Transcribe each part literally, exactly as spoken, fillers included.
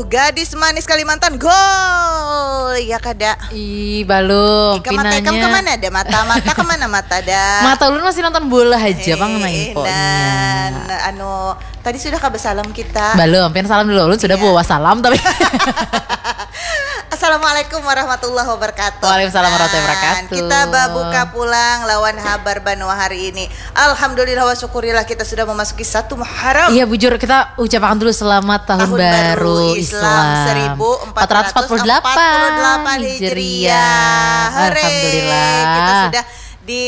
Gadis manis Kalimantan gol, ya kada? Ih, balum. Ika mata ikam pinanya. Kemana ada mata? Mata kemana mata ada? Mata ulun masih nonton bola aja, pang, nah, Eh, infonya. Dan anu, tadi sudah kah besalam kita? Balum, pian salam dulu. Ulun sudah Iya. bawa salam tapi Assalamualaikum warahmatullahi wabarakatuh. Waalaikumsalam warahmatullahi Nah, wabarakatuh. Kita babuka pulang lawan habar banua hari ini. Alhamdulillah wa syukurillah, kita sudah memasuki satu Muharram. Iya, bujur, kita ucapkan dulu selamat tahun, Tahun baru, baru Islam, Islam seribu empat ratus empat puluh delapan Hijriah. Hore. Alhamdulillah. Kita sudah di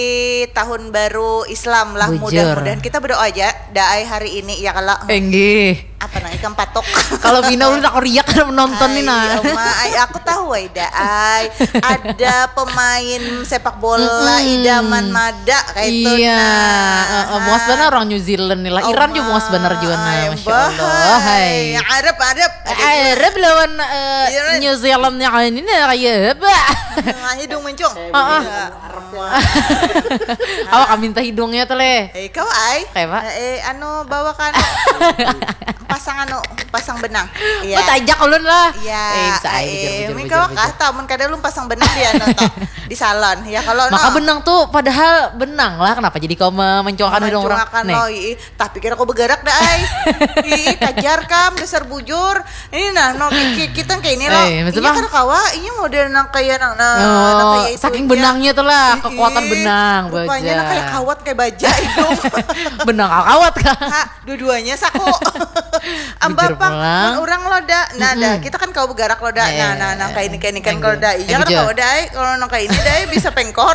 tahun baru Islam lah. Bujur. Mudah-mudahan kita berdoa aja daai hari ini ya kalau Enggih. Apa nang ikam patok? Kalau Bina ulun aku riak kada menonton nih, nah. Ai, Oma, ai, aku tahu ai da ai. Ada pemain sepak bola Mm-mm. idaman mada kayak itu Iya, nah. eh, eh, muas banar orang New Zealand nih lah. Iran juga muas banar juga, nah, Ai, masya Allah. bahai. Hai. Arab, Arab. Ada juga. Arab lawan eh, Iran. New Zealand yang ini nih kayak apa? Nah, hidung mencong. Heeh. Iya. Awak minta hidungnya tuh leh. Eh, kau ai. Kayak apa? Eh, anu bawa kan pasang anu, pasang benang. Iya. Mau tajak ulun lah. Iya. Eh, bisa aja Eh, bujur, bujur, mi bujur, kau bujur. Kah tamun kada lu pasang benang di anu toh, di salon. Ya kalau Maka no. Benang tuh padahal benang lah, kenapa jadi kau me- mencuakan hidung orang? Mencuakan Nih. Lo, ih, tapi kira kau bergerak dah ai. Ih, tajar kam dasar bujur. Ini nah, no ki- ki- kita kayak ini lo. Eh, maksud Iya bang? Kada kawa, ini model nang kayak nang nah, Oh, nang kayak itu saking aja. Benangnya tuh lah, Ih, kekuatan ih, benang, rupanya baja. Nang kayak kawat kayak baja hidung. Benang kakawat kah? Ha, dua-duanya saku. Bujur Ambapang pulang. Mun orang lo da. Nah, dah Mm-mm. Kita kan kau bergerak lo da. Nah, Eh, nah, nang kayak ini kayak ini kan eh, kalau da. eh, Iya kan bujur. Kau da. Kalau nang kayak ini da bisa pengkor.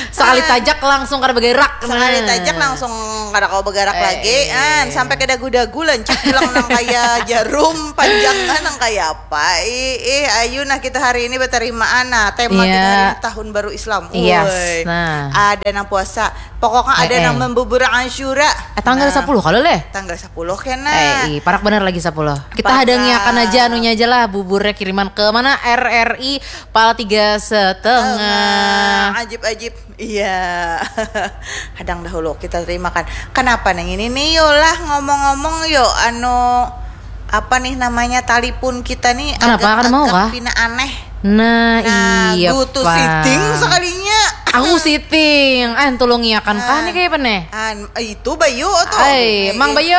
Sekali tajak langsung kada bergerak. Sekali Nah. Tajak langsung kada kau bergerak Eh, lagi. eh. An, sampai ke dagu-dagu lancip bilang nang kayak jarum panjang kan nang kayak apa? Ih, ih, ayu nah kita hari ini berterimaan nah tema kita Iya. Hari ini tahun baru Islam. Yes, Woi. Nah. Ada nang puasa. Pokoknya ada Eh, eh. Nang membubur Asyura. Eh, tanggal Nah. Sepuluh kalau leh. Tanggal sepuluh kena. Eh, ih, parak bener lagi sepuluh. Kita Parak. Hadangiakan aja anunya aja lah, buburnya kiriman ke mana? R R I pala tiga setengah. Ajib-ajib. Iya. Hadang dahulu kita terimakan. Kenapa nang ini nih yo lah ngomong-ngomong yo anu apa nih namanya talipun kita nih Kenapa? Kada mau kah? Pina aneh. Nah, Nah, iya go to Pak. Sitting sekalinya. Aku Sitting, eh tulung iakan kah nih kayak apa nih? An, itu Bayu tuh. Ay, Mang Bayu,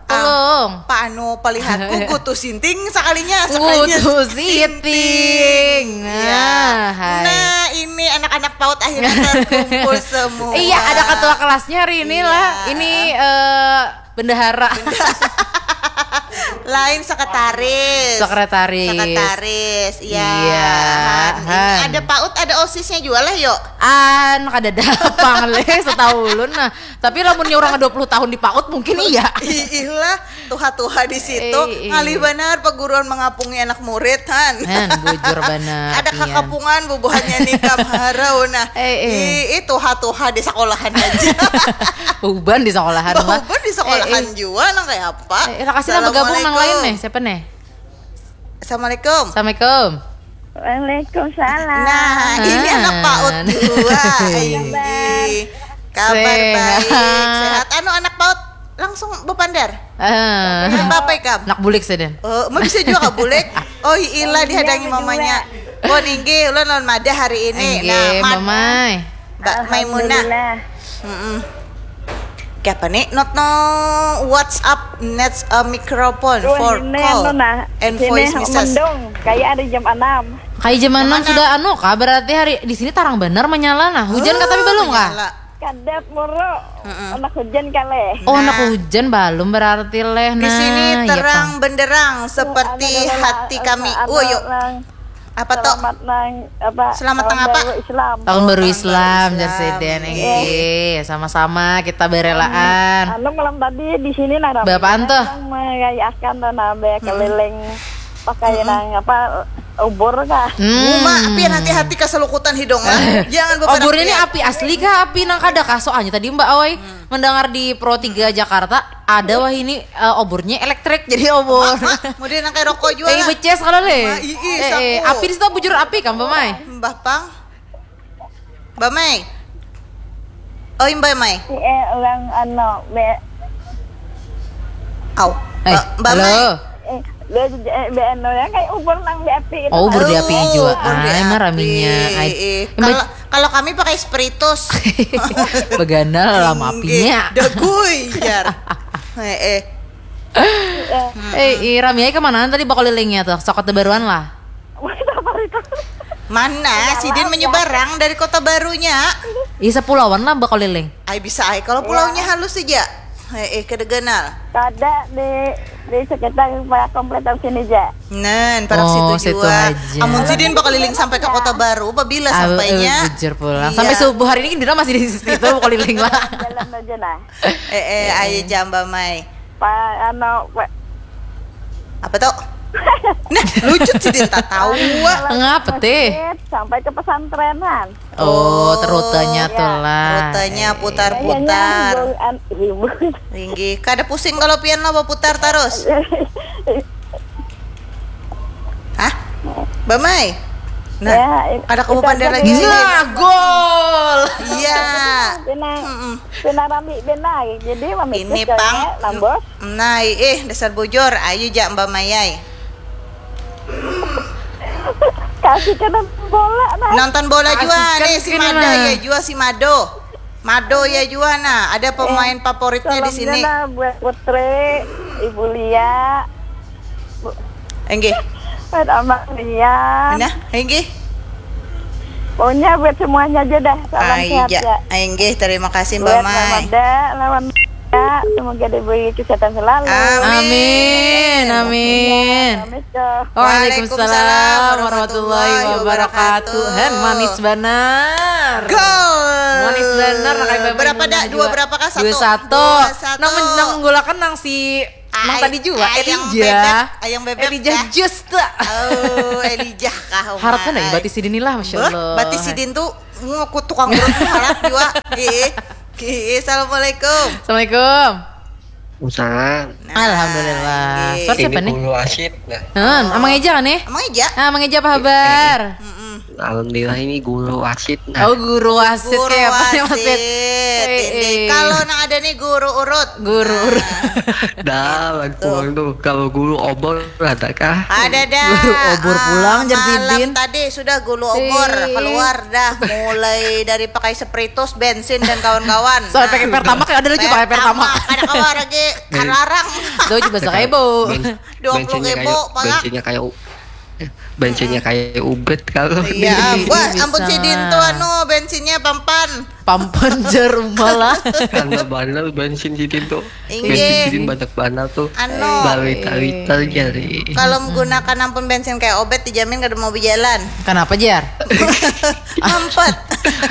tulung. Pak anu palihatku go to Sitting sekalinya. Go to Sitting. Nah, hai. Nah, ini anak-anak paut akhirnya terkumpul semua. Iya, ada ketua kelasnya hari ini Iya. Lah. Ini eh, bendahara. Lain sekretaris. Sekretaris. Sekretaris, iya. Iya, Han. Ini Han. Ada paut, ada osisnya juga lah, yuk. An kada ada pang leh setahu ulun nah. Tapi lamunnya orang dua puluh tahun di paut mungkin iya. Ih, lah, tuha-tuha di situ. Eh, eh. Ngalih banar perguruan mengapungi anak murid, Han. Han, bujur banar. Ada Pian. Kakapungan bubuhannya nikam harau nah. Eh, eh. Ih, ih, tuha-tuha di sekolahan aja. Bauban di sekolahan mah. Bauban di sekolahan Eh, eh. jua nang kayak apa? Eh, lah, kasih lah bergabung nang lain Assalamualaikum. Nih, siapa nih? Assalamualaikum. Assalamualaikum. Waalaikumsalam. Nah, ini Ah. Anak paut dua. Iya. Ini. Kabar Sehat. Baik, sehat. Anu anak paut langsung bepandar. Ah. Apa ikam? Nak bulik sih, Den. Oh, mau bisa juga kah bulik? Oh, ilah dihadangi Iya, berdua. Mamanya. Oh, ninggi, ulun lawan Mada hari ini. Enggih, Nah, Mad- Mamai. Mbak Maimunah. Alhamdulillah. Mm-mm. Kayak apa nih? Not no WhatsApp needs a microphone Wah, for ini call anu nah. and Sini voice message. Mendung. Kayak ada jam enam. Kayak jam enam Mana? Sudah anu kah? Berarti hari di sini tarang benar menyala nah. Hujan kah tapi belum kah? Menyala. Kadap moro. Mm-mm. Anak hujan kali. Oh, Nah. Anak hujan belum berarti leh. Di Nah, sini iya, terang Pang. benderang seperti Anu, hati anu, kami. anu, Oh, yuk. nang Apa toh? Selamat nang apa? Selamat tahun nang apa? Baru Islam. Tahun baru Tahun Islam, baru jar Islam. Seden. Iya. Iya, sama-sama kita berelaan. Anu malam tadi di sini nah ramai Bapaan tuh? Orang merayakan tuh nah be keliling pakai nang apa ubur kah? Hmm. Uma, pian hati-hati keselukutan hidung lah. Jangan beberapa Obor ini pian. Api asli kah? Api nang kada kah? Soalnya tadi Mbak Awai mendengar di Pro tiga Jakarta ada wah ini eh, obornya elektrik jadi obor. Model nang kayak rokok juga Eh, lah. beces kalau leh. Wah, ii, Eh, eh, saku. Api di situ bujur Api kan, Mbak Mai? Mbah Pang. Mbak Mai. Oh, Mbak Mai. Si eh orang anu be Au. Eh, Mbak, Mbak halo. Mai. Eh, dia, eh, B N O ya, kayak ubur nang di api itu. Oh, ubur di api jua. Oh, ubur di api. Ai, mah raminya. Ai. Eh, eh. Mbak, kalau, kalau kami pakai spiritus. Bagana lah, lama apinya. Inggih. Dagui, jar. Eh, eh. Eh, eh, rami ai kamanaan tadi bakulilingnya tuh? Sokot baruan lah. Wih, apa itu? Mana? Sidin menyeberang dari Kota Barunya. Ih, sapulauan lah bakuliling. Ai, bisa ai kalau pulaunya halus saja. Eh, eh, kada ganal. Kada di, di sekitar kompletan sini ja. Nan, parak situ jua. Oh, situ haja. Amun sidin bakuliling sampai ke Kota Baru, babila sampainya? Ah, eh, bujur pulang. Iya. Sampai subuh hari ini Indira masih di situ bakuliling lah. Jalan aja nah. Eh, eh, ayo ja Mbak Mai. Pa, anu, pa- Apa tuh? Nah, lucut sidin tatawa. Ngapa teh? Masjid, sampai ke pesantrenan. Oh, rutenya tuh lah. Rutenya putar-putar. Kayaknya hibur, an-, hibur. Inggih, kada pusing kalau pian lah baputar terus. Hah? Mbak Mai? Nah, ya, kada kamu itu pandai aja lagi sih. Nah, gol. Iya. Pina, mm-mm. Pina rami pina. Jadi, ini pang, nambos. Nah, eh, dasar bujur. Ayo ja Mbak Mai ai. Kasih kena bola nah. Nonton bola jua nih, si Mado ya jua, si Mado. Mado ya jua nah, ada pemain favoritnya di sini. Salamnya nah buat Putri, Ibu Lia. Enggih. Buat Abang Lia. Nah, enggih. Pokoknya buat semuanya aja dah. Salam sehat ya. Enggih, terima kasih Mbak Mai. Buat Mama Da, lawan Ya, semoga diberi kesehatan selalu. Amin, amin. Assalamualaikum. Waalaikumsalam warahmatullahi wabarakatuh. Han, manis banar. Gol. Manis banar, nah, kayak bapak. Berapa dah? Dua berapa kah? Satu. Dua satu. Dua satu. Nang men-, nang menggolakan nang si Mang tadi jua, Elijah. Ayang bebek, ayang bebek. Elijah kah? Just. Oh, Elijah kah, Uma? Harat kan ya, batis sidin lah, Masya Allah. Batis sidin tuh, tukang urut tuh harat jua. Ih. Oke, assalamualaikum. Assalamualaikum. Waalaikumsalam. Nah, alhamdulillah. Suara siapa nih? Ini Guru Asid, nah. Hmm, Amang Eja kan nih? Amang Eja. Ah, Amang Eja, apa kabar? Eh, eh. Mm-mm. Alhamdulillah, ini Guru Asid, nah. Oh, Guru Asid. Guru kayak apa nih, Mas Asid? Asid. Eh, eh. Kalau nang ada nih guru urut. Guru urut. Nah. Dah, lain pulang tuh. Kalau guru obor ada kah? Ada dah. Guru obor pulang, jar sidin. Malam tadi sudah guru obor keluar dah. Mulai dari pakai spiritus, bensin, dan kawan-kawan. Sampai pakai Pertamax, ada lagi pakai Pertamax. Pertamax, kada kawa lagi, larang. Itu juga sakaibu. Dua puluh ribu, parak. Bensinnya kayak u-, eh, bensinnya kayak ubet kalau. Iya, wah, ampun sidin tuh, anu, bensinnya pampan. Pampan jar Uma lah. Karena bandel bensin sidin tuh. Inggih. Bensin sidin banyak bandel tuh. Anu. Balita-lita jari. Kalau menggunakan ampun bensin kayak obet, dijamin kada mau berjalan. Kenapa, jar? Mampet.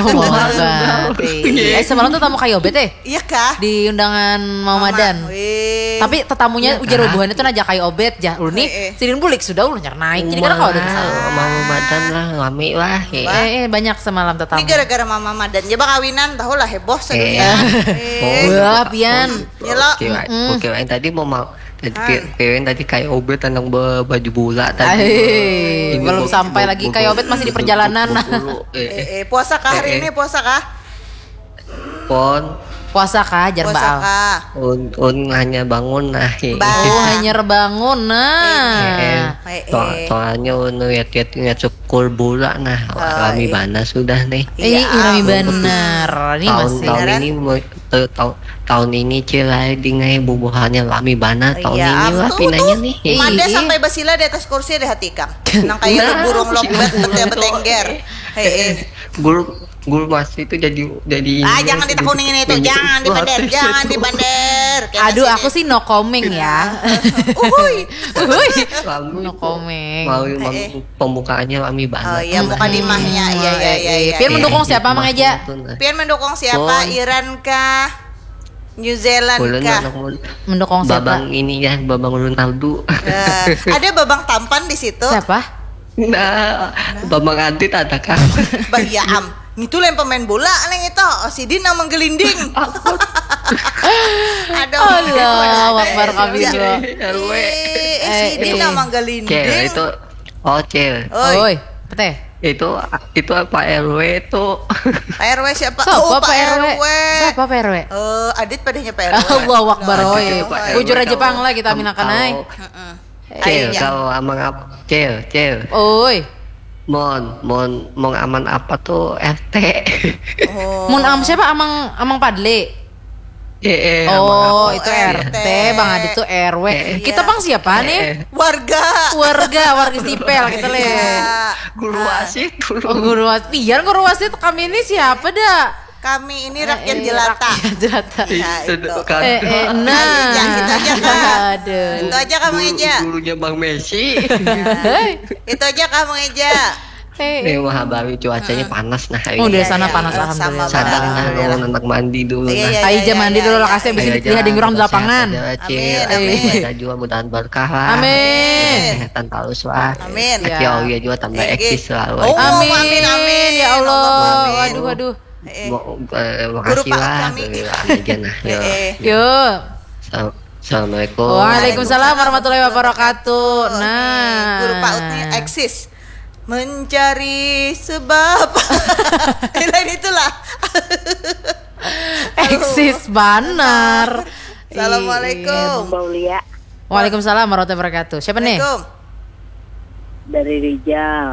Oh, mampet. Iya. Eh, semalam tuh tamu kayak obet, eh? Iya kah? Di undangan Mama Madan. Wih. Tapi tetamunya ujar bubuhannya tuh najak kayak obet, jar. Ulun nih, sidin bulik sudah, ulun nyar naik. Jadi kada kawa ada kesalahan. Mama Madan lah, rami lah. Eh, eh, banyak semalam tetamu. Ini gara-gara Mama Madan ja bakawinan, tahu lah, heboh sadunia. Eh. Wah, pian. Ya lo. Oke, Wak. Oke, Wak. Tadi mau, mau, tadi pi-, pian tadi kayak obet tentang be-, baju bola tadi. Belum sampai lagi, kayak obet masih di perjalanan. Eh, eh, puasa kah hari ini? Puasa kah? Pon. Puasa kah, jar Baal? Puasa kah? Un, un hanya bangun nah. Oh, hanya bangun nah. Eh, eh. Eh, eh. Soalnya un lihat-lihat, lihat skor bola nah. Wah, rami banar sudah nih. Iya, rami banar. Ini tahun, masih tahun ini, eh, tahun, tahun ini, Cil, ai, dingai bubuhannya rami banar tahun ini lah, pinanya nih. Mada sampai basila di atas kursi deh hati ikam. Nang kayak burung lokbet, betul, betengger. Hei, eh. Guru, guru Mas itu jadi, jadi. Ah, jangan ditekuni ini tuh, jangan dibander, jangan dibander. Aduh, aku sih no comment ya. Uhuy. Uhuy. No comment. Mau, mau pembukaannya rami banget. Oh iya, mukadimahnya. Iya, iya, iya, iya. Pian mendukung siapa, Mang Eja? Pian mendukung siapa? Iran kah? New Zealand kah? Mendukung siapa? Babang ini ya, Babang Ronaldo. Eh, ada Babang Tampan di situ. Siapa? Nah, Bambang Antit ada kah? Bah, iya am. Ngitu lain pemain bola neng itu. Oh, sidin nang menggelinding. Aduh. Allahu Akbar kabir. Ih, sidin nang menggelinding. Cil, itu. Oh, Cil. Oi. Oi, apa teh? Itu itu Pak R W itu. Pak R W siapa? Siapa Oh, Pak R W? R W. Siapa Pak R W? Eh, Adit padahnya Pak R W. Allahu Akbar Adit oi. itu Pak R W. Bujur aja Tahu. pang lah kita aminakan ai. Tahu. Heeh. Cil, Akhirnya. Kalau amang apa? Cil, Cil. Oi. Mon, mon, mon aman apa tuh R T? Oh. Mun am siapa amang amang Padli? Eh, eh, Oh, amang itu apa? R T, Bang Adit tuh R W. Eh, Kita Iya. Bang siapa nih? Warga. Warga, warga sipil kita leh. Iya. Guru wasit dulu. Oh, guru wasit. Pian guru wasit, kami ini siapa dah? Kami ini rakyat Eh, eh, jelata. Rakyat jelata. Nah, Itu itu. kan. Eh, eh, nah. Ya, itu aja, itu aja. Aduh. Itu aja kamu Guru- aja. Gurunya Bang Messi. Itu aja kamu aja. Eh, Nih eh. Mahabawi cuacanya panas nah hari Udah ini. sana Iya, panas iya, alhamdulillah. sama Sadar nah Alhamdulillah. Nuhun anak mandi dulu Iya, nah. iya, Ayo iya, aja mandi iya, dulu iya. lah kasih habis Ayo ini aja, dihading orang di sehat lapangan. aja, Cil. Amin, Ayo, amin. Ibadah juga mudahan berkah lah. Amin. Kesehatan terus lah. Amin. Iya. Aki Aulia juga tambah Inggih. eksis lah. Oh, Wah. Amin. amin, amin. Ya Allah. Allahumma amin. Waduh, waduh. Eh, eh. Mau eh, Guru makasih Pak lah. kami. Guru aja nah. Yo. Eh, eh. Yo. Assal- Assalamualaikum. Waalaikumsalam warahmatullahi wabarakatuh. Nih, Nah. Guru Pak Ut nih eksis mencari sebab. Lain itulah. Eksis banar. Assalamualaikum. Mbak Ulia Waalaikumsalam warahmatullahi wabarakatuh. Siapa nih? Assalamualaikum. Dari Rijal.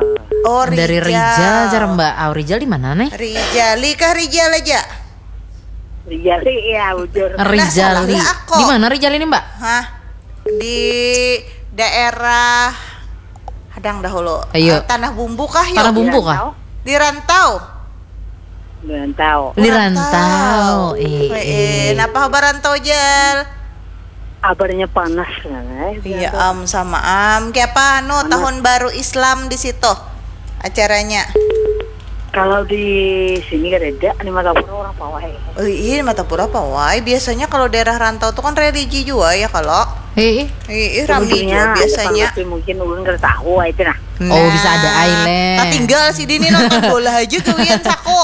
Oh, Rijal. Dari Rijal jar Mbak. Oh, Rijal di mana nih? Rijali kah Rijal aja? Rijal sih ya bujur. Rijali. salah aku. Di mana Rijal ini, Mbak? Hah? Di daerah Hadang dahulu. Ayo. Eh, Tanah Bumbu kah ya? Tanah Bumbu kah? Di Rantau. Belum tahu. Di Rantau. Eh, Eh, eh, eh. Napa kabar Rantau Jal? Kabarnya panas nah. Iya am sama am. Kayak apa anu tahun baru Islam di situ acaranya? Kalau di sini kan ada di Martapura orang pawai. Oh, iya Martapura pawai. Biasanya kalau daerah rantau tuh kan religi juga ya kalau. Eh, eh. Iya, rame juga biasanya. Tapi mungkin ulun kada tahu itu nah. Oh, bisa ada ai, leh. Tak tinggal si Dini nonton bola aja gawian saku.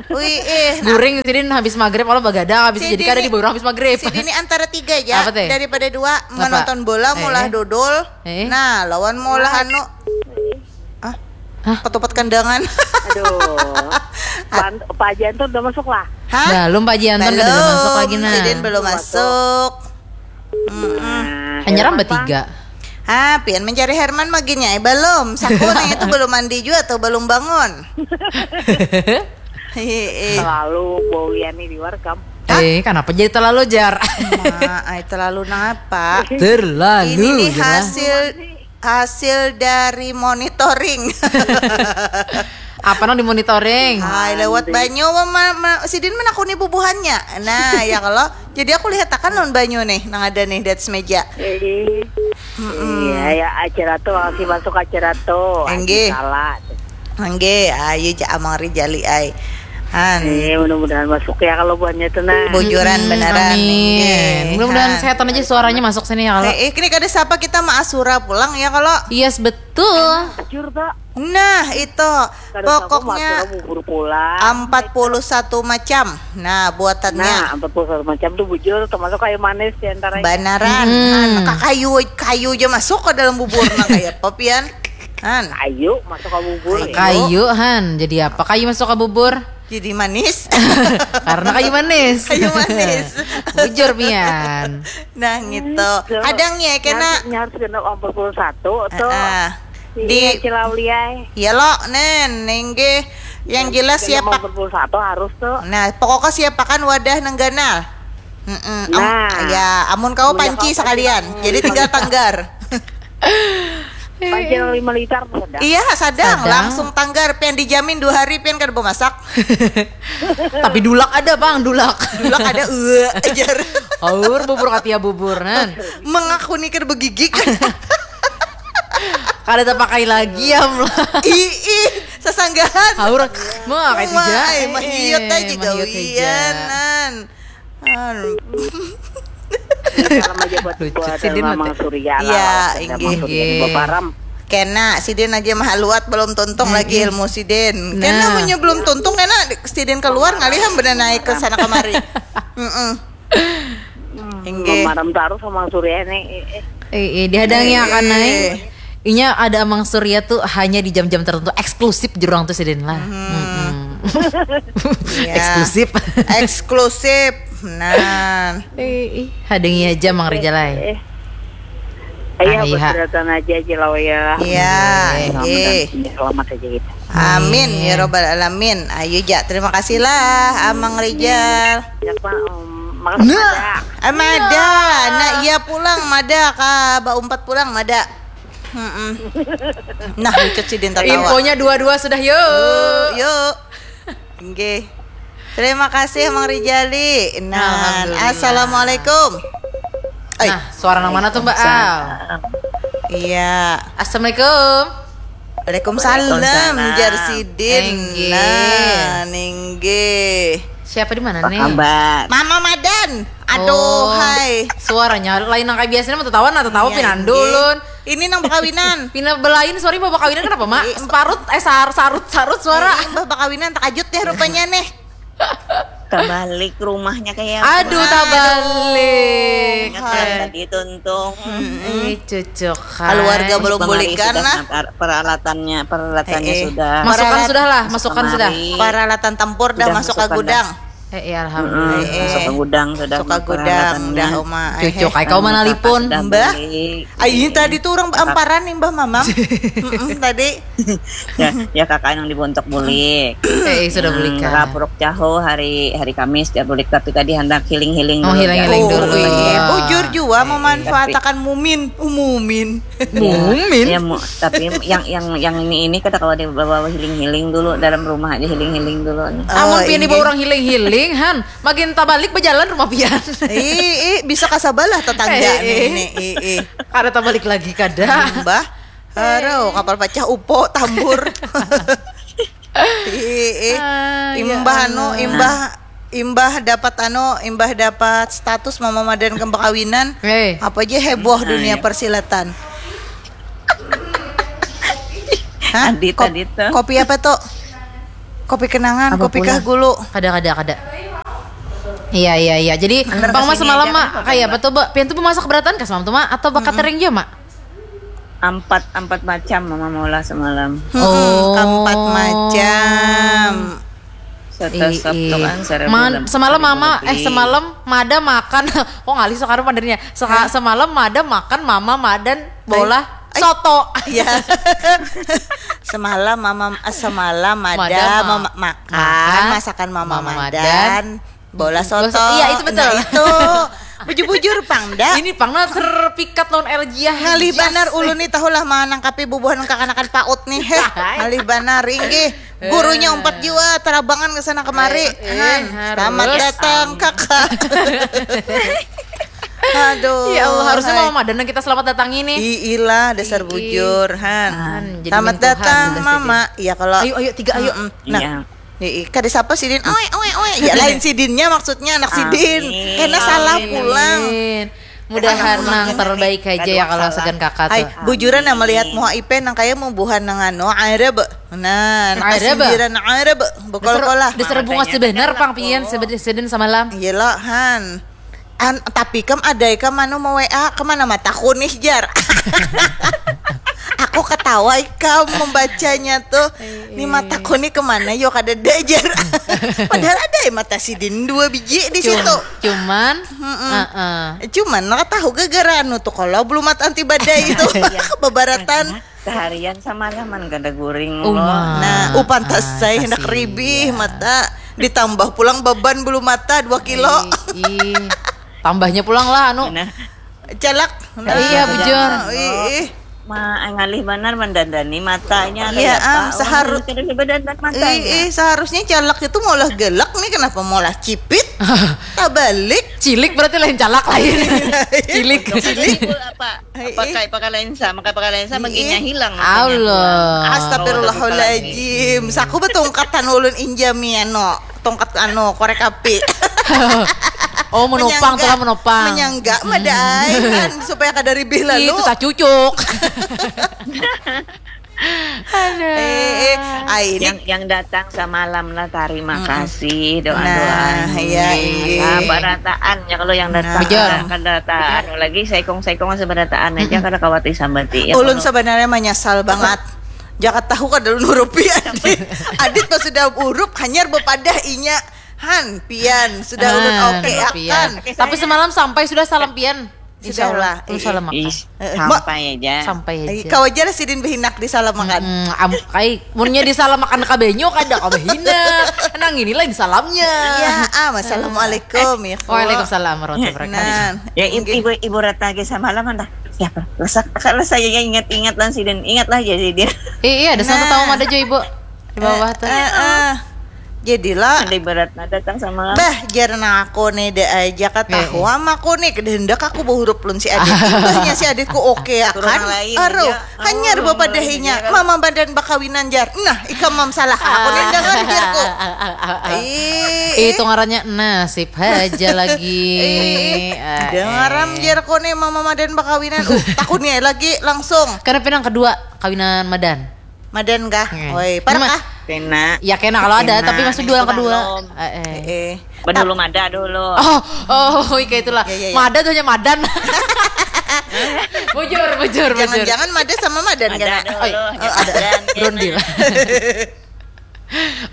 Wih, eh, nah, Guring sidin habis maghrib kalau begadang habis Si jadi kada Dini- di orang habis maghrib. Si Dini antara tiga aja. Apa teh? Daripada dua menonton bola Eh. maulah dodol. Eh. Nah, lawan maulah anu. Ah, Hah? ketupat kandangan. Aduh. Pan- Pak Janto udah masuk lah. Hah? Belum Pak Jianton kada ada masuk lagi nah. Sidin belum masuk. Nah, Hanya Herman, rambut Bang. Tiga. Hah, pian mencari Herman maginnya eh belum. Saku nih itu belum mandi juga tuh, belum bangun. Heeh. Selalu bau Liani di luar kam. Eh, kenapa jadi terlalu jar? Nah, ai terlalu napa? Terlalu Ini nih jar lah. Hasil hasil dari monitoring. Apa nang dimonitoring? Hai lewat banyu ma, ma, ma, sidin menakuni bubuhannya. Nah, ya kalau jadi aku lihat akan lawan banyu nih nang ada nih di atas meja. Jadi iya ya acara tuh masih masuk acara tuh. Enggih. Salah. Angge, ayo ja amang Rijali ai. Han. Eh, mudah-mudahan masuk ya kalau buahnya tuh nah. Bujuran Hmm, beneran. Amin. Enggih, Mudah-mudahan Han. sehat aja suaranya masuk sini ya kalau. Eh, eh, ini kada siapa kita maasura pulang ya kalau. Yes betul. Jujur pak. Nah, itu Kada tahu pokoknya masuk bubur pulang. empat puluh satu macam. Nah, buatannya Nah, empat puluh satu macam tuh bujur termasuk kayu manis di antaranya. Banaran, Hmm. Han, kakayu kayu aja masuk ke dalam bubur nah kayak apa pian? Han, Ayo masuk ke bubur. Kayu han, jadi apa kayu masuk ke bubur? Jadi manis. Karena kayu manis. Kayu manis. Bujur pian. Nah, gitu. Hadangnya kena Harus genap empat puluh satu tuh. Ah, Di di Cilauliai. Ya lo, nen, nengge. Yang jelas siapa? Empat puluh satu harus tuh. Nah, pokoknya siapakan wadah nang ganal. Mm-mm. Am- Nah. Ya, amun kau panci sekalian. Jadi tinggal tanggar. Panci lima liter tuh sedang. Iya, sadang, Sadang. Langsung tanggar, pian dijamin dua hari pian kada bemasak. Tapi dulak ada bang, dulak. Dulak ada eh ajar. Aur bubur katia bubur nan. Mengakuni kada begigik. Kada terpakai lagi ya lah. Ih, ih, sasanggahan. Aur mah kayak Mah, tiga. ai, mah hiut aja mah hiut gawianan. Aduh. Salam aja buat Lucu buat sih, Din, Mamang mati. Surya Iya, lah, inggih. Mamang Surya di Baparam. Kena sidin aja mahaluat belum tuntung lagi ilmu sidin. Kena Nah. munnya belum tuntung kena sidin keluar ngalih ham benar naik ke sana kemari. Heeh. Inggih. Mamaram taruh sama Surya nih. Eh, eh. Eh, eh, dihadangi akan naik. Inya ada Amang Surya tuh hanya di jam-jam tertentu, eksklusif jurang tuh sidin lah. Hmm. Mm-mm. Ya. Eksklusif. Eksklusif. Nah. Eh, ih, hadengi aja Mang Rijal ai. Eh. Ayo ah, iya. Berseratan aja aja lah ya. Iya, iya. Selamat aja gitu. Amin ya robbal alamin. Ayo ja, terima kasih lah Amang Rijal. Ya, Pak, um, nah, ada. Nah, iya pulang mada ka baumpat pulang mada. Mm-mm. Nah, lucut sidin tatawa. Infonya dua-dua sudah yuk. Yuk. Nggih. Terima kasih Mang Rijali. Nah, assalamualaikum. Ay. Nah, suara nang mana tuh Mbak Al? Iya. Assalamualaikum. Waalaikumsalam, Waalaikumsalam. Jar sidin. Nah, ninggi. Siapa di mana nih? Kabar. Mama Madan. Aduh, oh, hai. Suaranya lain nang kayak biasanya mau tertawa nah tertawa iya, pinandu ulun. Ini nang bakawinan. Pina belain sorry mau bakawinan kenapa mak? Parut eh sar sarut sarut suara. Ini mbah bakawinan takajut ya rupanya nih. Tabalik rumahnya kayak aduh tabalik. Ingat tadi tuntung. Hmm, eh, cucuk. Keluarga belum bulikan lah. Peralatannya peralatannya eh, eh. Sudah. Masukkan sudah lah, masukkan sudah. Peralatan tempur dah masuk ke gudang. Dah. Eh, iya alhamdulillah. Hmm, eh, suka gudang sudah. Suka gudang dah Uma. Cucu kai kau manalipun. Mbah. Ayo tadi tuh orang amparan nih Mbah Mamam. Mm-mm, tadi. Ya, ya kakak yang dibontok bulik. Eh, sudah bulik hmm, kak. Rapuruk caho hari hari Kamis dia bulik tapi tadi hendak healing healing. Oh, dulu, healing healing dulu. Oh, iya. Bujur jua memanfaatakan mumin, umumin. Mumin. Ya, mu, tapi yang yang yang ini ini kata kalau dibawa healing healing dulu dalam rumah aja healing healing dulu. Amun oh, pian dibawa orang healing healing han, makin tabalik berjalan rumah pian. Ih, ih bisa kasabalah tetangga eh, nih, eh. Ih, ih. Kada tabalik lagi kada. Mbah, aduh kapal pecah upo tambur. Ih, ih. Ah, ya imbah anu, imbah imbah dapat anu, imbah dapat status mama madan kembang kawinan. Hey. Apa aja heboh nah, dunia ya. Persilatan. Hah? Adit, Kop, adit tuh. Kopi apa tuh? Kopi kenangan, apa kopi pula? Kah gulu? Kada, kada, kada. Iya, iya, iya. Jadi, Pang Mas semalam mak kayak apa tuh, Mbak? Pian tuh memasak beratan kah semalam tuh, Mak? Atau bakat mm -mm. Tering juga, Mak? Ampat ampat macam mama maulah semalam. Oh, ampat macam. Serta sabtu kan seribu Man, semalam mama eh semalam mada makan kok ngalih sekarang pandernya Seka, semalam mada makan mama madan bola soto ya semalam mama eh, semalam mada, mada makan masakan mama, mama madan, madan. Bola soto. Iya itu betul. Nah, itu bujur-bujur pang dah. Ini pang nah terpikat lawan Eljiah. Ngalih banar ulun nih tahu lah manangkapi bubuhan kakanakan paut nih. Heh, ngalih banar inggih. Gurunya umpat jua terabangan ke sana kemari. Eh, eh, Han, selamat datang kakak. Aduh. Ya Allah, harusnya mama madan kita selamat datang ini. Iilah, dasar bujur, Han. Selamat datang, Mama. Iya kalau Ayo, ayo tiga ayo. Mm -mm. Nah, iya. Ii, kada sapa sidin, oe oe oe. Ya lain sidinnya maksudnya anak sidin. Amin. Karena salah pulang. Amin. Mudahan nang terbaik aja ya kalau segan kakak tuh. Hai, bujuran yang melihat muha ipe nang kaya mubuhan nang anu Arab. Nah, nang kasindiran Arab. Bokol-kolah. Dasar bunga sebenar pang pian sidin samalam. Iya lo, Han. An, tapi kam ada ikam anu mau WA kemana mataku nih jar. Aku ketawa ikam membacanya tuh. Ini mataku nih kemana yo kada ada jar. Padahal ada ya mata sidin dua biji di situ. Cuman, mm -mm. Uh -uh. Cuman nggak tahu gara-gara anu tuh kalau belum mata anti badai itu beberatan. Seharian samalaman kada guring lo. Uma. Nah, upan tasai ah, hendak ribih mata ditambah pulang beban bulu mata dua kilo. Ih, ih. Tambahnya pulang lah anu. Nah. Calak. Nah, iya bujur. Ih, ih. Ma, ngalih banar mendandani matanya. Iya, am, seharus kada dandan matanya. Ih, ih, seharusnya calak itu malah gelak nih kenapa malah cipit? Tabalik. Cilik berarti lain calak lain. Cilik. Cilik. Apa? Pakai pakai lensa, pakai pakai lensa baginya hilang. Allah. Astagfirullahaladzim. Saku betungkatan ulun injami anu, tongkat anu korek api. Oh menopang tuh menopang. Menyangga madai kan supaya kada ribih lalu. Itu tak cucuk. Aduh. Eh, eh, ai, ini yang yang datang samalam lah, terima kasih doa-doanya. Nah, iya, iya. Nah, barataan ya kalau yang datang. Nah. Betul. Kada, kada anu lagi, saikung-saikung asa barataan aja, kada kawati sambati ya. Ulun kalau sebenarnya menyesal banget. Jakat tahu kada ulun urupi, Adit. Adit pas sudah urup, hanyar bepadah inya. Han, pian, sudah ulun oke akan. Tapi semalam sampai sudah salam pian. Insya Allah. Ulun salam akan. Ih, eh, eh, sampai aja. Sampai aja. Kau aja lah sidin behinak disalamakan. Mm-mm, am, kai, munnya disalamakan ka banyu kada kau behinak. Nang ini lain salamnya. Iya, ah, assalamualaikum ya. Waalaikumsalam warahmatullahi wabarakatuh. Nah, ya, ibu, ibu Ratna ge samalam dah. Siapa? Lesak, lesak ya, ingat-ingat lah sidin. Ingat lah aja sidin. Eh, iya, ada satu tahu ada jo ibu di bawah tuh. Eh, eh. Jadilah. Ada berat nah datang sama. Bah, jar nang aku nih, da aja katahuam aku nih, kada hendak aku bahurup lun si Adit. Imbahnya si Aditku oke akan. Aruh, hanyar bapadahinya, mama badan bakawinan jar. Nah, ikam mam salah aku nih, dangar jarku. Ih, itu ngarannya nasib haja lagi. Dengaram jarku nih, mama madan bakawinan. Uh, takuni lagi langsung. Karena pinang kedua kawinan madan. Madan kah? Oi, parak kah? Kena. Ya kena kalau ada, tapi maksud dua yang kedua. Eh, eh. Padahal belum ada dulu. Oh, oh, kayak itulah. Ya, ya, ya. Mada tuh hanya madan. Bujur, bujur, bujur. Jangan-jangan mada sama madan kena. Oh, iya. Ada. Rundil.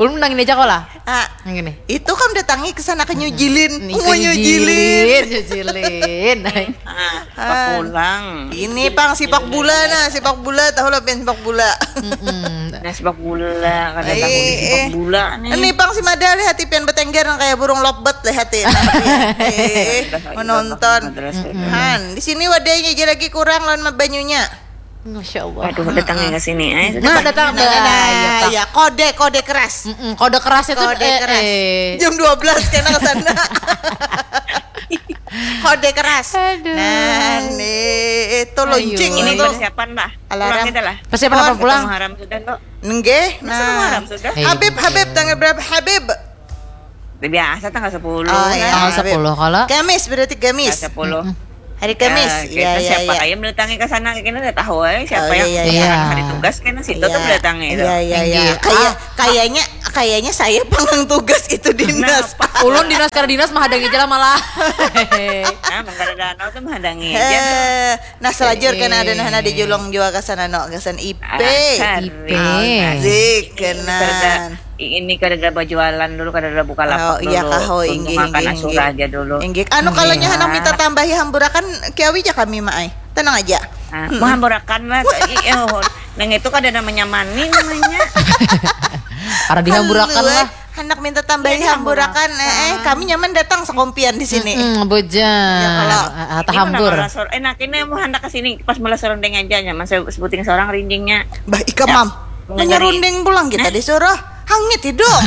Ulun nang ini aja kok lah. Ah, yang ini. Itu kam datangi ke sana ke nyujilin. Mau nyujilin. Nyujilin, nyujilin. Ah, sepak pulang. Ini pang sepak bola nah, sepak bola tahu lah pian sepak bola. Nah, sepak bola, kada tahu di sepak bola nih. Ini pang si Mada lihati pian betengger nang kayak burung lovebird lihati. Nah, eh, menonton. Han, di sini wadahnya aja lagi kurang lawan banyunya. Masya Allah. Aduh, datangnya ke sini. Eh, nah, datang. Nah, ya, kode, kode keras. Mm-mm, kode keras itu kode keras. Jam dua belas kena ke sana. Kode keras. Aduh. Nah, nih itu lonceng ini tuh. Persiapan lah. Alarm. Pulang kita lah. Persiapan apa pulang? Haram sudah kok. Nggih. Nah. Haram sudah. Habib, Habib tanggal berapa Habib? Biasa tanggal sepuluh. Oh, iya. Tanggal sepuluh kalau Kamis berarti Kamis. Tanggal sepuluh. Hari Kamis. Ya, ya, siapa kaya mendatangi ke sana, kita udah tahu ya siapa yang hari tugas kena situ tuh mendatangi itu. Iya, iya, iya. Kayak kayaknya kayaknya saya panggang tugas itu dinas. Ulun dinas karena dinas menghadangi aja lah malah. Nah, mengkara danau tuh menghadangi aja. Nah, selanjutnya ada nah ada julung jua ke sana no, ke sana I P. I P. Zik kena. Ini kada ada berjualan dulu, kada ada buka lapak dulu. Oh, iya kah, oh, inggih, inggih, inggih. Anu, kalau nya handak minta tambahi hamburakan, kiawi ja kami, Mak ai. Tenang aja. Nah, mau hamburakan lah. Nang itu kada ada menyamani namanya. Kada dihamburakan lah. Handak minta tambahi hamburakan, eh, kami nyaman datang sekompian di sini. Bujang. Tahambur. Eh, nak ini mau handak ke sini pas mula serundeng aja nyaman sebuting seorang rindingnya. Bah, ikam mam. Menyerunding pulang kita disuruh. Hangit hidup.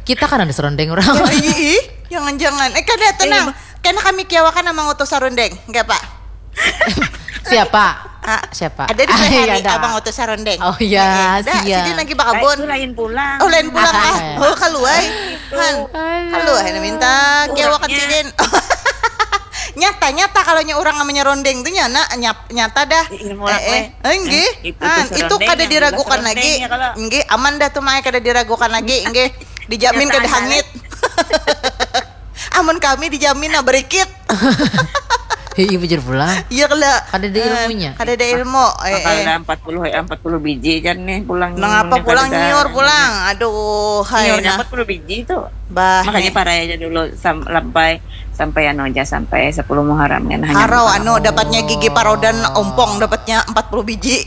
Kita kan ada serondeng orang. Ih, jangan-jangan. Eh, kada tenang. Kena kami kiawakan sama ngutus sarundeng. Enggak, Pak. Siapa? Siapa? Ada di hari abang ngutus sarundeng. Oh iya, sia. Sidin lagi bakabun. Itu lain pulang. Oh, lain pulang kah? Oh, kaluai. Han. Kaluai minta kiawakan sidin. Nyata-nyata kalau nya orang namanya rondeng tuh nyana nyata dah. Ilmu orang weh. Enggih. Itu kada diragukan lagi. Enggih, aman dah tuh Mai, kada diragukan lagi. Enggih, dijamin kada hangit. Amun kami dijamin nah berikit. Hei, bujur pulang. Iya kala. Kada ada ilmunya. Kada ada ilmu. Bakal ada empat puluh, empat puluh biji jan nih pulang. Nang apa pulang nyiur pulang. Aduh, hai. Nyiurnya empat puluh biji tuh. Bah, makanya parai aja dulu sampai sampai anu aja sampai sepuluh Muharram kan hanya. Harau anu dapatnya gigi parodan ompong dapatnya empat puluh biji.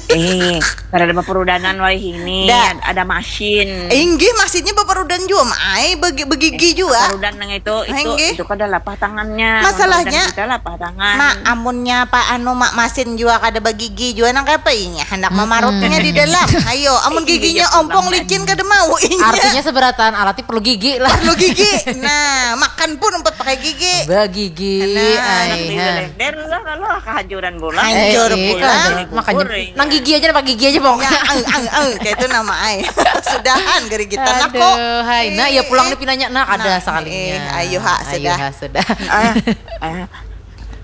Eh, kada ada paparudanan wai ini. Ada masin. Inggih, masinnya paparudan jua, Mai, begigi jua. Paparudan nang itu itu itu kada lapah tangannya. Masalahnya kita lapah tangan. Mak, amunnya apa anu mak masin jua kada begigi jua nang kaya apa inya handak mamarutnya di dalam. Ayo, amun giginya ompong licin kada mau inya. Artinya seberataan alatnya perlu gigi lah. Perlu gigi. Nah, makan pun umpat pakai gigi. Begigi. Nah, anak di Belender lah kalau kehancuran bola. Hancur bola. Makanya nang gigi aja napa gigi aja pokoknya. Ang ang ang kayak itu nama ai. Sudahan gerigitan aku. Aduh, hai. Nah, ya pulang di pinanya nah kada sakalinya. Ayo ha sudah. Sudah.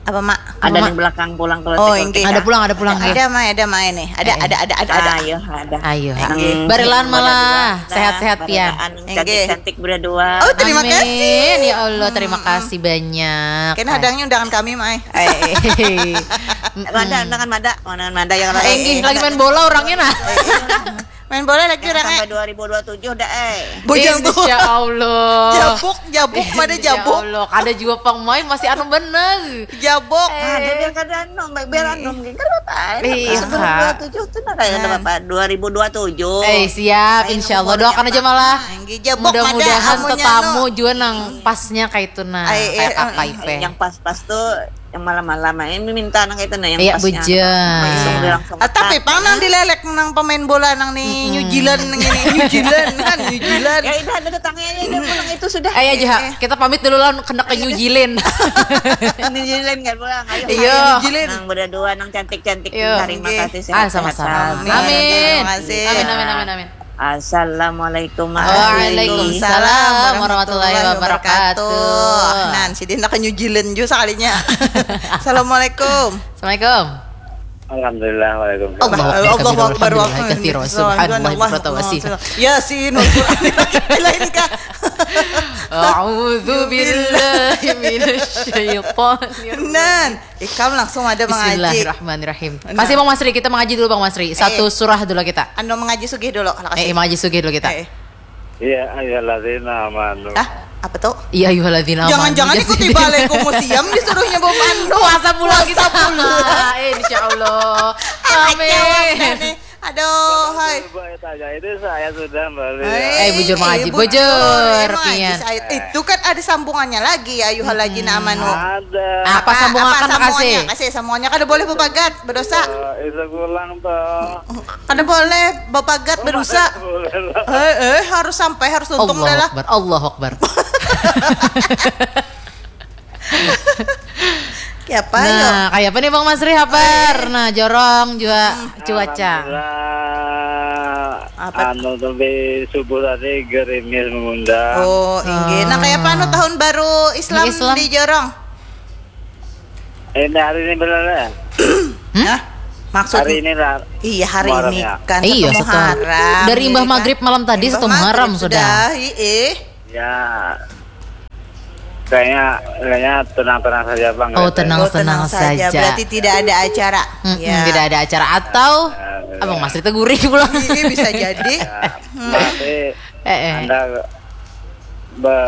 Apa, Mak? Ada di belakang pulang kalau Oh, tengok inggih. kita. Ada pulang, ada pulang, Ada, ya. Ada, Mai, ada, Mai, nih. Ada, Eh. ada, ada, ada, ada. Ayo, ha. Inggih. Barilaan Nang malah. Baradua, Sehat-sehat, pian. baradaan, Inggih. Cantik-cantik berdua. Oh, terima Amin. kasih. Ya Allah, terima kasih banyak. Kena hadangnya undangan kami, Mai. Eh. Mada, undangan mada, undangan mada yang Eh, Ih, lagi main bola orangnya, nah. Main bola lagi Jangan orangnya. Sampai dua ribu dua tujuh dah, eh. Bujang tuh. Insya Allah. Jabuk, jabuk, mana Insya jabuk? Allah, kada jua pang main, masih anu bener. Jabuk. Ada biar kada anu, biar anu, mungkin kan apa? Iya, Sebelum Kak. dua tujuh tuh nah kayak ada apa? Dua ribu dua tujuh. Eh, siap, Ayo, insya Allah. umur Doakan aja berapa? malah. Inggih, jabuk, Mudah-mudahan mada amunnya tetamu anu. Juga nang pasnya kayak itu, nah. Ai, Kayak eh, kakak eh, Ipe. Yang pas-pas tuh, yang malam-malam, eh, minta nang itu nah, yang Iya, pasnya. bujang. Langsung, langsung Ah, tapi tepat. pang nang dilelek nang pemain bola nang nih New Zealand nang ini. New Zealand, kan New Zealand. Ya udah, ada tetangga aja dia pulang itu sudah. Eh, aja, ha. Kita pamit dulu lah, kena ke New Zealand. New Zealand kan pulang. Ayo. Iya. New Zealand. Nang berdua, nang cantik-cantik. Iya. Terima Inggih. kasih. Ah, Sehat-sehat. sama-sama. Amin. Amin. Terima kasih. Amin, amin, amin, amin. Assalamualaikum. Waalaikumsalam warahmatullahi wabarakatuh. Nah, si Dinda ke New Zealand juga sekalinya. Assalamualaikum. Assalamualaikum. Alhamdulillah, waalaikumsalam. Allahu Akbar, Akbar, Allahu Akbar, alhamdulillah, katsira, subhanallah, bukratan wa asila. Yasin, wal Qur'anil hakim. Lain kah? A'udzu billahi minasyaitonir. Nan, ikam langsung ada mengaji. Bismillahirrhmanirrhim. Nah. Kasih Bang Masri, kita mengaji dulu Bang Masri. Satu surah dulu kita. Anu mengaji sugih dulu, lah Eh, kasih. Mengaji sugih dulu kita. Eh, Ya ayyuhalladzina amanu. Ah, apa tuh? Ya ayyuhalladzina amanu. Jangan-jangan Ya ikuti sih. Balik Museum disuruhnya bawa pandu. Puasa pula kita. Puasa pula. Eh, insya Allah. Kacau Amin. dah nih. Aduh, hai. Coba tanya, itu saya sudah beli. Hai. Eh, bujur mengaji, Ibu bujur, mengaji, pian. Said. Itu kan ada sambungannya lagi ya, ayyuhalladzina amanu. Ada. Apa sambungan Apa akan sambungannya? kasih? Kasih sambungannya, kada boleh bepagat, berdosa. Eh, itu pulang toh. Kada boleh bepagat, berdosa. Boleh lah. Eh, eh, harus sampai, harus tuntung Allahu dah lah. Akbar, Allahu Akbar. Kayak apa yo? Nah, kayak apa nih Bang Masri, habar? Nah, jorong juga cuaca. Alhamdulillah. Apa? Anu, tapi subuh tadi gerimis mengundang. Oh, inggih. Nah, kayak apa anu tahun baru Islam Islam. Di jorong? Ini hari ini benar ya? Hah? Maksud Hari ini lah. Iya, hari Muharram ini ya? Kan Iya, satu setelah Muharram. Dari Imbah Jadi kan Maghrib malam tadi Imbah satu Muharram Maghrib sudah. Iya. Ya. Kayaknya kayaknya tenang-tenang saja, Bang. Oh, tenang. Oh, tenang Senang saja. saja. Berarti tidak ada acara. Mm-mm, Ya. Tidak ada acara atau Ya, Abang Masri teguri pulang. Iya, bisa jadi. Ya, masih Eh, eh. Anda be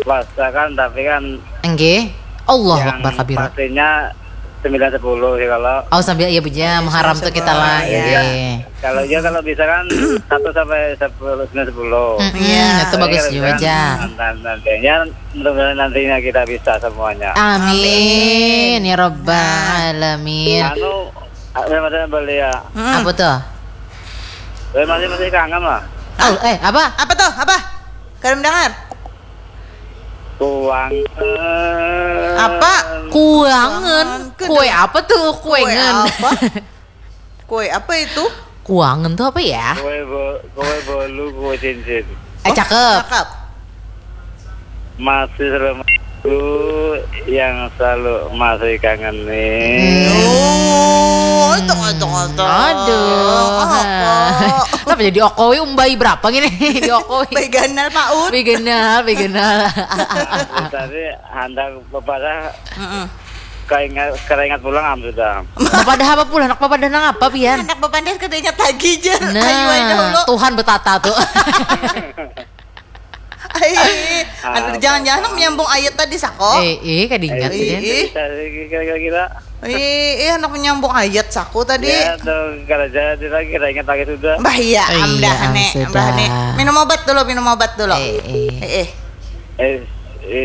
puasa kan, tapi kan Enggih. Allahu yang Akbar kabira. pastinya sembilan sepuluh sih kalau Oh, sambil iya, bujang, Muharram tuh kita lah. Iya. Iya. kalau dia kalau bisa kan satu sampai sepuluh, sembilan sepuluh. Mm-mm, Iya. itu bagus Jadi, juga. kan, nanti- nantinya mudah-mudahan nantinya kita bisa semuanya. Amin ya rabbal alamin. Anu, ada beli ya. Mm-mm. Apa tuh? Saya masih masih kangen lah. Oh, eh, apa? Apa tuh? Apa? Kada mendengar. Kuang. Apa? Kuangan. Kue apa tuh? Kue Kuengan. Apa? Kue apa itu? Kuangan tuh apa ya? Kue bo kue bolu, kue cincin. Eh, cakep. Cakep. Masih selalu yang selalu masih kangenin. Oh, itu itu itu. Aduh. Apa? Kenapa jadi okoi umbai berapa gini? Diokoi. Baik ganal Pak Ut. Begenal, begenal. Tadi handak bepadah Mm-mm. keringat keringat pulang am sudah. Papadah apa pula? Anak papadah nang apa pian? Anak bepandir kada ingat lagi jer. Nah, Ayo aja dulu. Tuhan betata tuh. Ai, aduh, jangan-jangan nak menyambung ayat tadi sako. Eh, eh, kada ingat Ih, sih. ih. Bisa sih kira-kira. Ih, ih, anak menyambung ayat sako tadi. Ya tuh, kalau jadi lagi keringat lagi sudah. Bah iya, Iya, amdah nih, sudah. amdah nih. Minum obat dulu, minum obat dulu. Eh, eh. Eh, eh. Eh,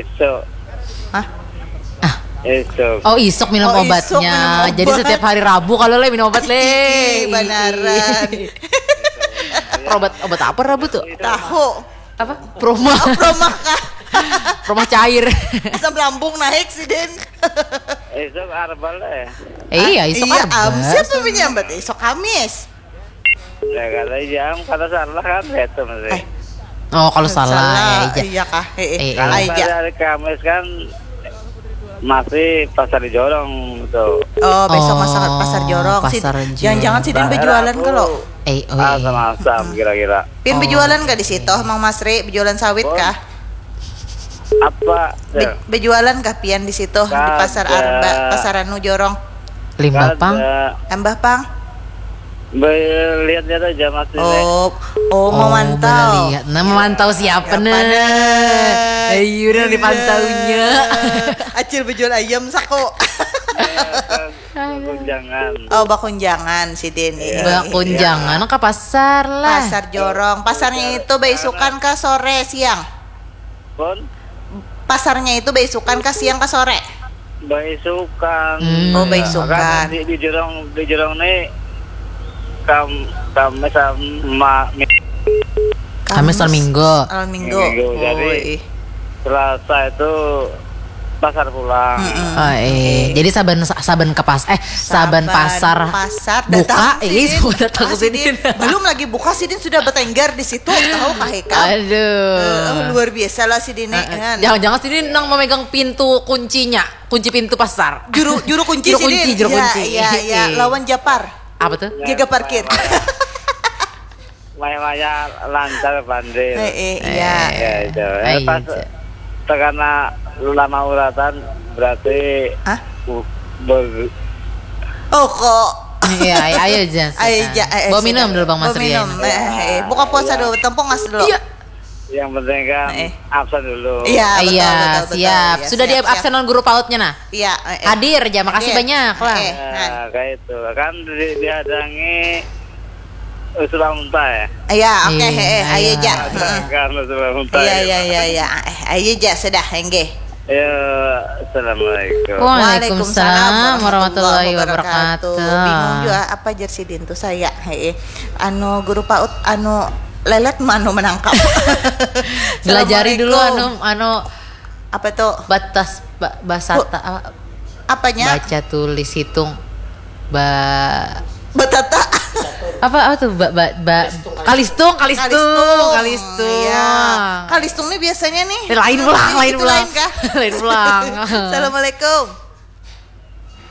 iso. Hah? Iso. Oh, isuk minum Oh, isuk obatnya. Minum obat. Jadi setiap hari Rabu kalau le minum obat le. Ih, banaran. Obat obat apa Rabu tuh? Tahu. Apa? Proma. Promah kah? Proma cair. Asam lambung naik sih, Den. Iso arbal eh. Eh, iya, isuk Iya, Arbal. am, siapa menyambat isuk Kamis? Ya kalau jam kalau salah kan itu masih. Eh. Oh, kalau salah, ya, iya. Iya kah? Eh, eh. Eh, Kalau eh. aja. Hari Kamis kan Masih pasar di Jorong tu. Oh, besok Oh, pasar, pasar Jorong. Sid, pasar Jorong. Jangan-jangan sidin Daerah bejualan aku kalau. Eh, oh, iya. Asam-asam kira-kira. Pian Oh, bejualan gak di situ, Mang Masri? Bejualan sawit kah? Apa? Be- bejualan kah pian di situ, di pasar Arba, pasar anu Jorong? Limbah pang. Ada. Ambah pang. Lihat-lihat aja, Mas, ini. Oh, oh, memantau. Melihat. Nah, memantau siapa, siapa nih? Ayo, udah dipantaunya. Acil bejual ayam sako. Bakunjangan. Oh, bakunjangan sidin. Iya. Bakunjangan ke pasar lah. Pasar Jorong. Pasarnya itu baisukan ke sore siang. Pun? Pasarnya itu baisukan ke siang ke sore. Baisukan. Hmm. Oh, baisukan. Di, di Jorong, di Jorong nih kam Kamis sama Kamis dan Minggu. Minggu. Minggu. Jadi Selasa itu pasar pulang. Mm-mm. Oh, eh. Jadi saban saban ke pas eh saban, saban pasar, pasar buka, eh, datang sini. Belum lagi buka sidin sudah bertengger di situ, tahu kah Ika? Aduh. Uh, luar biasa lah sidin. Uh, uh. Jangan-jangan sidin nang memegang pintu kuncinya, kunci pintu pasar. Juru juru kunci juru sidin. Kunci, juru ya, kunci. Iya, iya, iya. Lawan Japar. Apa tuh? Jaga parkir. Maya-maya lancar pandai. Eh, eh, iya. Ya, itu. Eh, pas terkena lama uratan berarti Hah? Uh, ber... Oh kok. Iya, ayo, ayo aja. Ayo aja. Eh, eh, Bawa minum dulu Bang Mas Rian. Eh, eh, buka puasa dulu, tempung mas dulu. Iya. Yang penting kan eh. Absen dulu. Iya, betul, iya, betul, betul, siap. Ya, sudah siap, di absenan guru pautnya nah. Iya. Eh, eh. Hadir aja, makasih hadir. Banyak lah. Eh, eh, nah. Kayak itu kan di, dihadangi Usul Unta ya? Iya, oke, okay, hmm, eh, ayo aja. Kan Usul Unta. Iya, iya, iya, iya. Eh, ayo aja sudah, enggih. Ya, assalamualaikum. Waalaikumsalam warahmatullahi wabarakatuh. Bingung juga apa jer sidin tuh saya. Hei, anu guru paut anu lelet manu menangkap. Belajari dulu anu anu apa tuh? Batas ba, basata apa? Apanya? Baca tulis hitung ba batata apa apa tuh ba, ba, ba, kalistung kalistung kalistung, kalistung. Iya. Kalistung nih biasanya nih eh, lain pulang lain pulang lain pulang assalamualaikum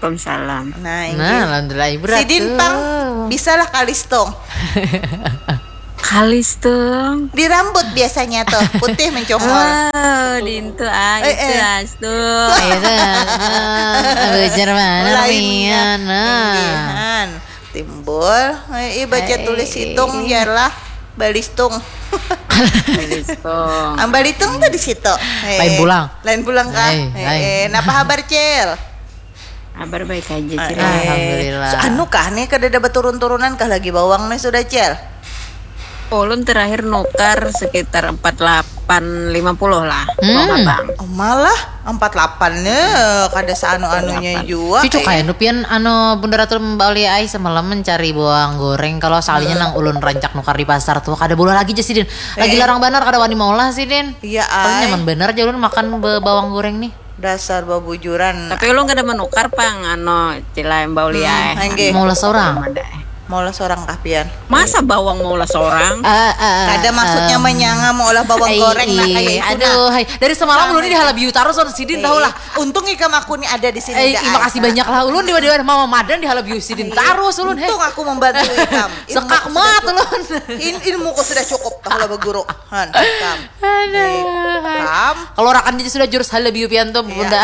Waalaikumsalam. Nah, nah alhamdulillah ibu ratu. Sidin pang bisa lah kalistung. Kalistung. Di rambut biasanya tuh putih mencongol. Oh, dintu ah, eh, itu eh. Astu. Itu. Belajar mana Lain, ya. Nah. Timbul, eh, baca tulis hitung ialah balistung. Balistung. Am balitung tuh di situ. Eh, lain pulang. Lain pulang kah? Eh, eh, napa habar, Cil? Habar baik aja, Cil. Eh, Alhamdulillah. Anu kah nih kada ada berturun-turunan kah lagi bawang nih sudah, Cil? Ulun terakhir nukar sekitar empat delapan lima puluh lah. Hmm. Bang. Oh, malah empat delapan nya kada seanu-anunya jua. Cucu kayak nupian anu Bunda Ratu Mbak Aulia ai semalam mencari bawang goreng kalau soalnya hmm. Nang ulun rancak nukar di pasar tuh kada boleh lagi aja sidin. Lagi eh. Larang banar kada wani maulah sidin. Iya ai. Nyaman banar aja ulun makan bawang goreng nih. Dasar babujuran. Tapi ulun kada menukar pang anu Cila Mbak Aulia. Hmm, eh. Maulah seorang. Maulah seorang kah pian? Masa bawang maulah seorang? Uh, uh, Kada maksudnya um, menyanga maulah bawang ay, goreng nah kayak itu aduh, nah. Hai. Dari semalam ulun ini halabiu tarus on sidin tahu lah. Untung ikam aku nih ada di sini. Eh, terima kasih banyak lah ulun di mana mama madan di halabiu sidin tarus ulun. Untung aku membantu ikam. Sekak mat ulun. Ilmuku sudah cukup kalau berguru. Han, ikam. Aduh. Kalau rakan jadi sudah jurus halabiu pian tuh bunda.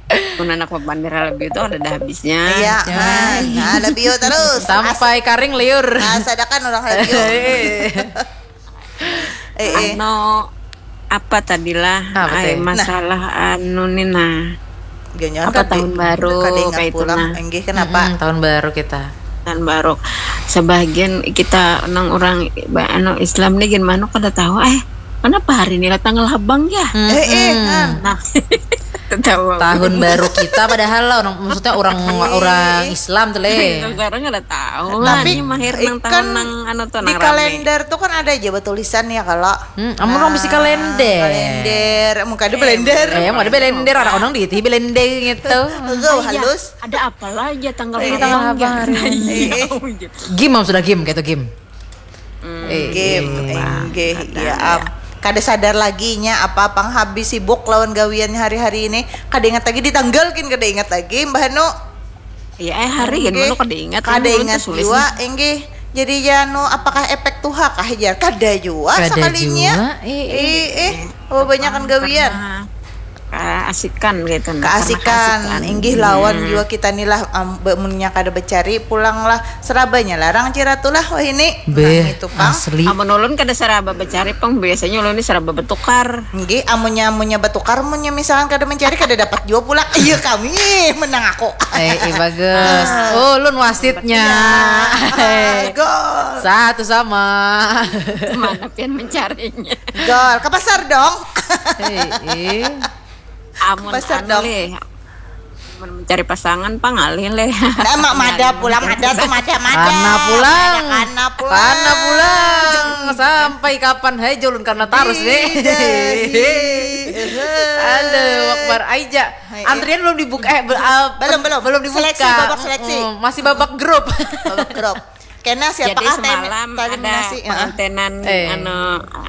Mun anak papandir lebih itu ada dah habisnya. Iya, nah, nah lebih terus. Sampai As karing liur. Nah, sadakan orang lebih. eh, eh. Ano apa tadilah? Apa Ay, masalah nah. Anu nih nah. Ganyan apa tahun baru kayak itu nah. Enggih kenapa? Hmm, tahun baru kita. Tahun baru. Sebagian kita nang orang anu Islam nih gimana kada tahu eh Kenapa hari ini datang labang ya? Hmm. Eh, eh, nah. Tahun baru kita padahal lah orang maksudnya orang orang Islam tuh leh. Sekarang ada tahu. Tapi mahir nang tahun nang anu tuh di kalender tuh kan ada aja tulisan ya kalau. Hmm, amun orang bisi kalender. Kalender, muka ada blender. Eh, ada blender, ada orang di itu blender gitu. Enggak halus. Ada apa lagi tanggal eh, tanggal apa hari ini? Game sudah game gitu game. Hmm, eh, game, eh, enggih, ya am. Kada sadar lagi nya apa pang habis sibuk lawan gawiannya hari-hari ini. Kada ingat lagi di tanggal gin kada ingat lagi, Mbah Anu. Iya, eh hari gin Nggih. Manu kada ingat. Kada Ulun ingat tuh sulis jua, nih. Inggih. Jadi ya anu, apakah efek tuha kah jar? Kada jua Kada sakalinya. Jua, eh, eh. Eh, eh, oh, banyakan gawian. Karena keasikan gitu nah. Karena Keasikan, inggih lawan jua kita ni lah, am, be- munnya kada becari pulang lah, serabanya larang ciratu lah wahini. Beh, Nah, itu pang. Asli. Amun ulun kada saraba becari pang, biasanya ulun ni saraba betukar. Nggih, amunnya amunnya betukar, munnya misalkan kada mencari kada dapat jua pulang. Iya kami menang aku. Eh, eh, bagus. Oh, ulun wasitnya. Eh, Gol. Satu sama. Mana pian mencarinya? Gol ke pasar dong. Eh, eh. Amun Pasar anu dong. Leh. Amun mencari pasangan pang ngalih leh. Nah, mak mada pulang, mada tuh mada mada. Kana pulang. Kana pulang. Kana pulang. Sampai kapan hai, ulun kana tarus nih. Ih, dah, ih. Aduh, Akbar Aija. Hai, Antrian belum dibuka, eh, be- ah, Belum, belum. belum dibuka. Seleksi, babak seleksi. Mm, masih babak grup. Babak grup. Kena siapa Jadi ah, tem- semalam ada terminasi? Heeh. pengantinan Eh. anu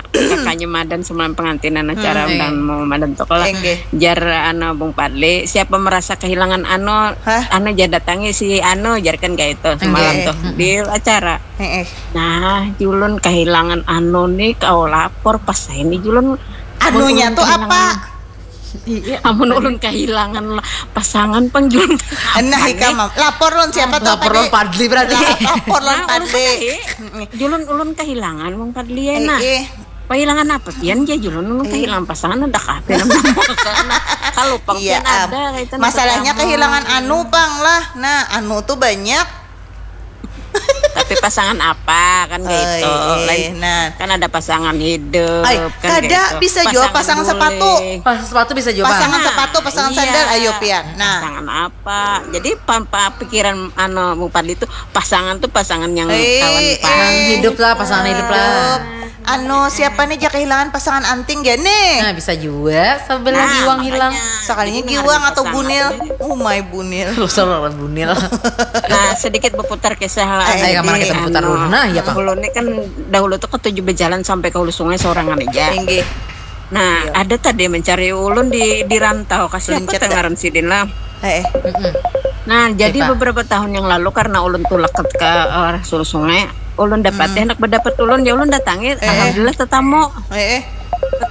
kakaknya Madan semalam pengantinan acara Hmm, undang mau Madan tuh kalau Enggih. jar anu Bung Padli, siapa merasa kehilangan anu Hah? anu jar datangi si anu, jar kan kayak itu semalam Enggih. Tuh di acara. Heeh. Nah, julun kehilangan anu nih, kau lapor pas saya ini julun. Anunya tuh apa? Amun ulun kehilangan la- pasangan pang julun. Nah, ikam mam- lapor lon siapa tuh? Lapor lon Padli berarti. La- lapor lon Nah, ulun Padli. tadi, julun ulun kehilangan Bung Padli ya Eh, nah. eh. Kehilangan apa pian ja julun, ulun kehilangan pasangan, ada kafe. Kalau pang Iya, pian am. Ada kaitan Masalahnya pertama. Kehilangan anu pang lah. Nah, anu tuh banyak. Tapi pasangan apa kan gitu. Eh, Lain nah. Kan ada pasangan hidup Ay, kan kada gitu. bisa jua pasangan sepatu. Guling. Pas sepatu bisa jua. Pasangan Nah, sepatu, pasangan iya. Sandal, ayo pian. Nah, Pasangan apa? Jadi pampa pikiran anu Bung Padli tuh pasangan tuh pasangan yang Eh, kawan eh. pan. Hidup lah, pasangan hidup lah. Anu, siapa nih ja kehilangan pasangan anting gak nih? Nah, bisa juga sebelah Nah, giwang makanya. Hilang. Sekalinya Jadi, giwang ngarang atau pasangan. Bunil? Umai Bunil. Lu selalu bunil. Nah, sedikit berputar kisah lah. Eh, Ayo, mana Jadi, kita berputar anu, dulu? Nah, iya, Pak. Dahulu ini kan dahulu tuh ketujuh berjalan sampai ke hulu sungai seorang aja. Inggih. Nah, ada tadi mencari ulun di di rantau kasih Lincet apa ngaran sidin lah. Eh, eh. Nah, jadi Siapa? Beberapa tahun yang lalu karena ulun tulak ke, ke arah hulu sungai, ulun dapat hendak berdapat ulun ya ulun datangi, alhamdulillah tetamu. Eh, eh. Tetamu